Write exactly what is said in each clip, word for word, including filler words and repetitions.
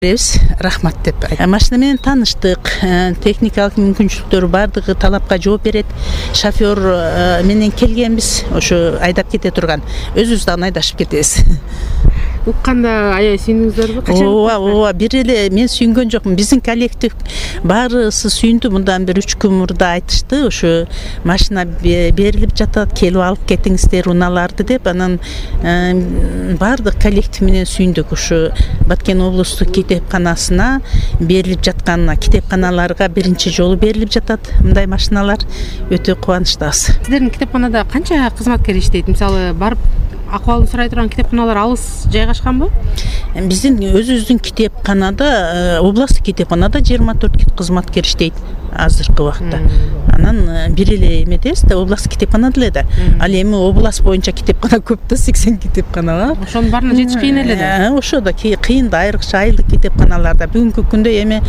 Рахмат деп. Машина менен тааныштык. Техникалык мүмкүнчүлүктөрү бардыгы талапка жооп берет. Шофёр менен келгенбиз, ошо айдап кете турган. Өзүбүз дагы айдашып кетебиз. Укканда аябай сүйүндүңүздөрбү? Ооба, ооба. Бир эле мен сүйүнгөн жокмун. Биздин коллектив баарысы сүйүндү. Мындан бир үч күн мурда айтышты. Ошо машина берилип жатат, келип алып кетиңиздер унааларды деп. Анан баардык коллектив менен сүйүндүк. Ошо Баткен облустук китепканасына берилип жатканына, китепканаларга биринчи жолу берилип жатат мындай машиналар. Өтө кубанычтабыз. Сиздердин китепканада канча кызматкер иштейт? Мисалы, барып акыбалын сурай турган китепканалар алыс жайгашканбы? Биздин өзүбүздүн китепканада, областтык китепканада жыйырма төрт кызматкер иштейт азыркы убакта. Анан бир эле эмедебиз да, областтык китепкана эле да. Ал эми область боюнча китепкана көп да, сексен китепкана бар. Ошонун баарына жетиш кыйын эле да. Ошо да кыйын да, айрыкча айылдык китепканаларда. Бүгүнкү күндө эми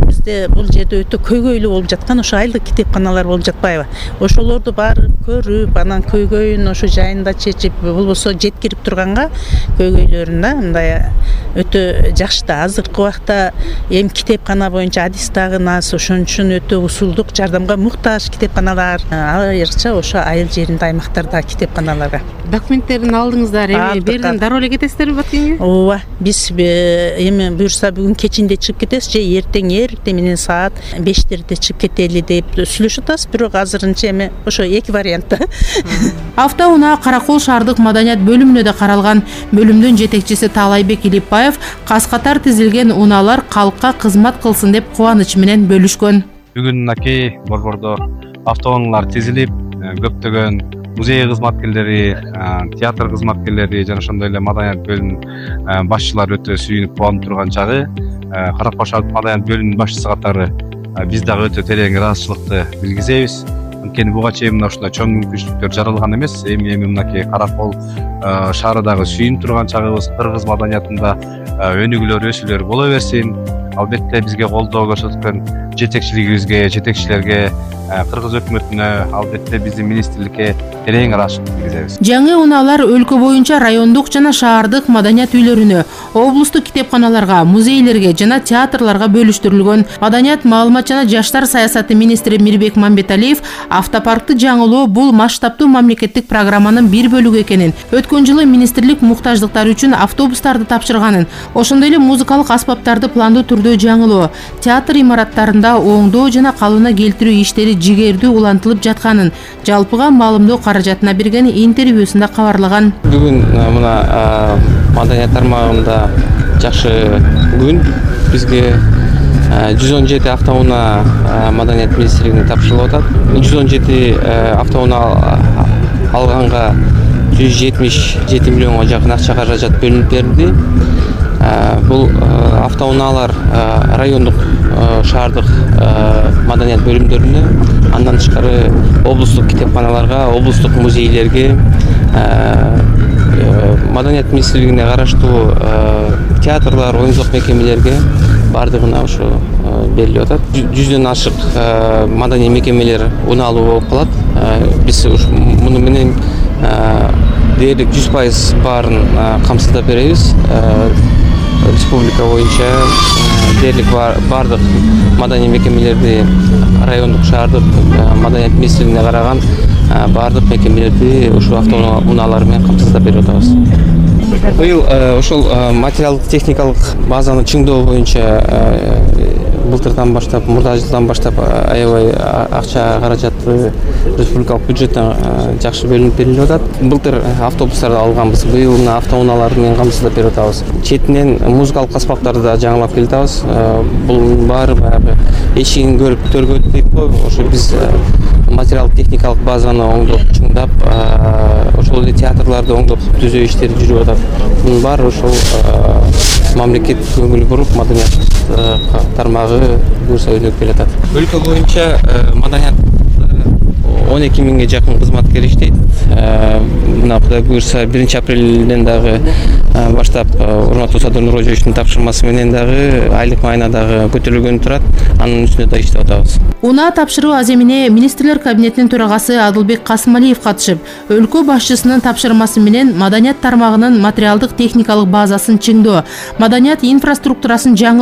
бизде бул жерде өтө көйгөйлүү болуп жаткан ошо айылдык китепканалар болуп жатпайбы? Ошолорду барып көрүп, анан көйгөйүн ошо жайында чечип, болбосо жеткирип турганга көйгөйлөрүн да мындай өтө жакшы да. Азыркы убакта эми китепкана боюнча адис дагы аз, ошон үчүн өтө усулдук жардамга муктаж китепканалар, айрыкча ошо айыл жеринде, аймактарда китепканаларга. Документтерин алдыңыздар, эми берден дароо эле кетесиздерби Баткенге? Ооба, биз эми буюрса бүгүн кечинде чыгып кетебиз же эртең эртең менен саат бештерде чыгып кетели деп сүйлөшүп атабыз, бирок азырынча эми ошо эки вариантта. Автоунаа Каракол шаардык маданият бөлүмүнө да каралган. Бөлүмдүн жетекчиси Таалайбек Илипбаев кас катар тизилген унаалар калкка кызмат кылсын деп кубаныч менен бөлүшкөн. Бүгүн мынакей борбордо автоунаалар тизилип, көптөгөн музей кызматкерлери, театр кызматкерлери жана ошондой эле маданият бөлүмүнүн башчылары өтө сүйүнүп кубанып турган чагы. Каракол шаардык маданият бөлүмүнүн башчысы катары биз дагы өтө терең ыраазычылыкты билгизебиз. Анткени буга чейин мына ушундай чоң мүмкүнчүлүктөр жаралган эмес. Эми эми мынакей Каракол шаарындагы сүйүнүп турган чагыбыз, кыргыз маданиятында өнүгүүлөр, өсүүлөр боло берсин. Албетте бизге колдоо көрсөткөн жетекчилигибизге, жетекчилерге, кыргыз өкмөтүнө, албетте биздин министрликке терең ыраазычылык билгизебиз. Жаңы унаалар өлкө боюнча райондук жана шаардык маданият үйлөрүнө, облустук китепканаларга, музейлерге жана театрларга бөлүштүрүлгөн. Маданият, маалымат жана жаштар саясаты министри Мирбек Мамбеталиев автопаркты жаңылоо бул масштабтуу мамлекеттик программанын бир бөлүгү экенин, өткөн жылы министрлик муктаждыктар үчүн автобустарды тапшырганын, ошондой эле музыкалык аспаптарды пландуу түрдө жаңылоо, театр имараттарында оңдоо жана калыбына келтирүү иштери жигердүү улантылып жатканын жалпыга маалымдоо каражатына берген интервьюсунда кабарлаган. Бүгүн мына маданият тармагында жакшы күн. Бизге жүз он жети автоунаа маданият министрлигине тапшырылып атат. жүз он жети автоунаа алганга жүз жетимиш жети миллионго жакын акча каражат бөлүнүп берилди. Бул автоунаалар райондук, шаардык маданият бөлүмдөрүнө, андан тышкары облустук китепканаларга, облустук музейлерге, маданият министрлигине караштуу театрлар, оюн-зоок мекемелерге бардыгына ошо берилип атат. Жүздөн ашык маданий мекемелер унаалуу болуп калат. Биз муну менен дээрлик жүз пайыз баарын камсыздап беребиз. Республика боюнча дээрлик бардык маданий мекемелерди, райондук, шаардык маданият министрлигине караган бардык мекемелерди ушул автоунаалар менен камсыздап берип атабыз. Быйыл ошол материалдык техникалык базаны чыңдоо боюнча былтырдан баштап, мурда жылдан баштап аябай акча каражаты республикалык бюджеттен жакшы бөлүнүп берилип атат. Былтыр автобустарды алганбыз, быйыл мына автоунаалар менен камсыздап берип атабыз. Четинен музыкалык аспаптарды да жаңылап келип атабыз. Бул баары баягы эшигин көрүп төргөт дейт го. Ошо биз материалдык техникалык базаны оңдоп, чыңдап, ошол эле театрларды оңдоп түзөө иштери жүрүп атат. Мунун баары ошол мамлекет көңүл буруп, маданият тармагы буюрса өнүгүп келатат. Өлкө боюнча маданият он эки миңге жакын кызматкер иштейт. Мына Кудай буюрса биринчи апрелден дагы баштап урматтуу Садыр Нурожевичтин тапшырмасы менен дагы айлык майына дагы көтөрүлгөнү турат. Анын үстүнө да иштеп атабыз. Унаа тапшыруу аземине министрлер кабинетинин төрагасы Адылбек Касымалиев катышып, өлкө башчысынын тапшырмасы менен маданият тармагынын материалдык техникалык базасын чыңдоо, маданият инфраструктурасын жаңылоо